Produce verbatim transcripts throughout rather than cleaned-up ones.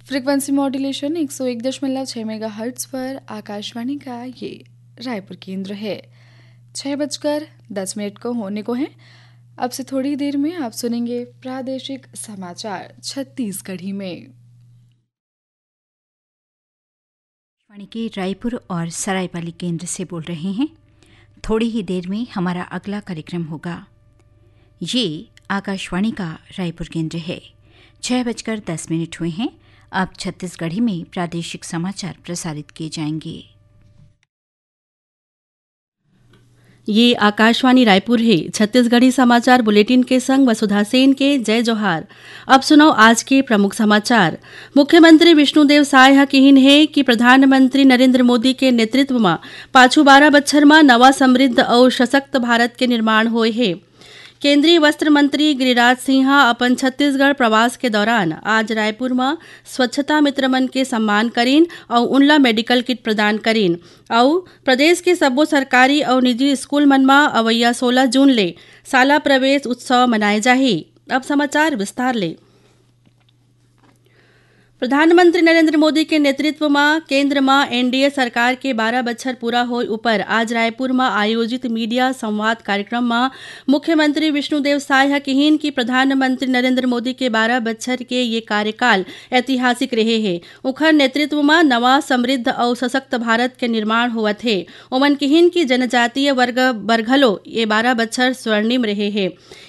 Frequency modulation एक सौ एक दशमलव छः मेगाहर्ट्ज पर आकाशवाणी का ये रायपुर केंद्र है। छः बजकर दस मिनट को होने को हैं। अब से थोड़ी देर में आप सुनेंगे प्रादेशिक समाचार छत्तीसगढ़ी में। आकाशवाणी के रायपुर और सरायपाली केंद्र से बोल रहे हैं। थोड़ी ही देर में हमारा अगला कार्यक्रम होगा। ये आकाशवाणी का रायपुर केंद्र है। छः बजकर दस मिनट हुए हैं। अब छत्तीसगढ़ी में प्रादेशिक समाचार प्रसारित किए जाएंगे। ये आकाशवाणी रायपुर है। छत्तीसगढ़ी समाचार बुलेटिन के संग वसुधा सेन के जय जोहार। अब सुनव आज के प्रमुख समाचार। मुख्यमंत्री विष्णुदेव साय ह किहिन हे कि प्रधानमंत्री नरेंद्र मोदी के नेतृत्व म पाछू बारह बछर म नवा समृद्ध अउ सशक्त भारत के निर्माण होए हे। केंद्रीय वस्त्र मंत्री गिरिराज सिंह ह अपन छत्तीसगढ़ प्रवास के दौरान आज रायपुर म स्वच्छता मित्र मन के सम्मान करिन अउ उनला मेडिकल किट प्रदान करिन अउ प्रदेश के सब्बो सरकारी अउ निजी स्कूल मन म अवइया सोलह जून ले शाला प्रवेश उत्सव मनाए जाही। अब समाचार विस्तार ले। प्रधानमंत्री नरेंद्र मोदी के नेतृत्व म केंद्र म एनडीए सरकार के बारह बछर पूरा होए ऊपर आज रायपुर म आयोजित मीडिया संवाद कार्यक्रम म मुख्यमंत्री विष्णुदेव साय ह किहिन कि प्रधानमंत्री नरेंद्र मोदी के बारह बछर के ये कार्यकाल ऐतिहासिक रहे हे। उखर नेतृत्व म नवा, समृद्ध अउ सशक्त भारत के निर्माण होवत हे। ओमन किहिन कि जनजातीय वर्ग बर घलो ये बारह बछर स्वर्णिम रहे हे।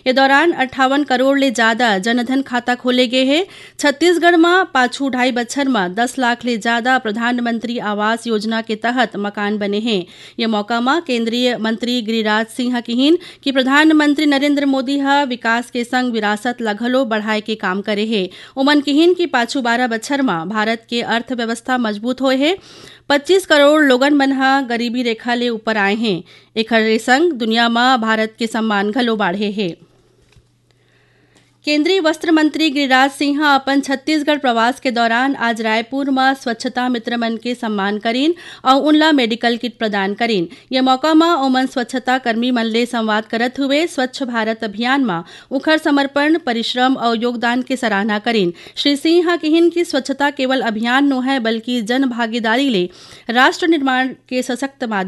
ये दौरान अट्ठावन करोड़ ले जादा जनधन खाता खोले गे हे। छत्तीसगढ़ म पाछू ढाई बछर म दस लाख ले जादा प्रधानमंत्री आवास योजना के तहत मकान बने हे। ये मौका म केंद्रीय मंत्री गिरिराज सिंह ह किहिन कि प्रधानमंत्री नरेंद्र मोदी ह विकास के संग विरासत ल घलो बढ़ाए के काम करे हे। ओमन किहिन कि पाछू बारह बछर म भारत के अर्थव्यवस्था मजबूत होए हे। पच्चीस करोड़ लोगन मन ह गरीबी रेखा ले ऊपर आए हें। एखर संग दुनिया म भारत के सम्मान घलो बाढ़े हे। केंद्रीय वस्त्र मंत्री गिरिराज सिंह ह अपन छत्तीसगढ़ प्रवास के दौरान आज रायपुर म स्वच्छता मित्र मन के सम्मान करिन अउ उनला मेडिकल किट प्रदान करिन। ये मौका म ओमन स्वच्छता कर्मी मन ले संवाद करत हुए स्वच्छ भारत अभियान म उखर समर्पण, परिश्रम अउ योगदान के सराहना करिन। श्री सिंह ह किहिन कि स्वच्छता केवल अभियान नोहय, बल्कि जन भागीदारी ले राष्ट्र निर्माण के सशक्त माध्यम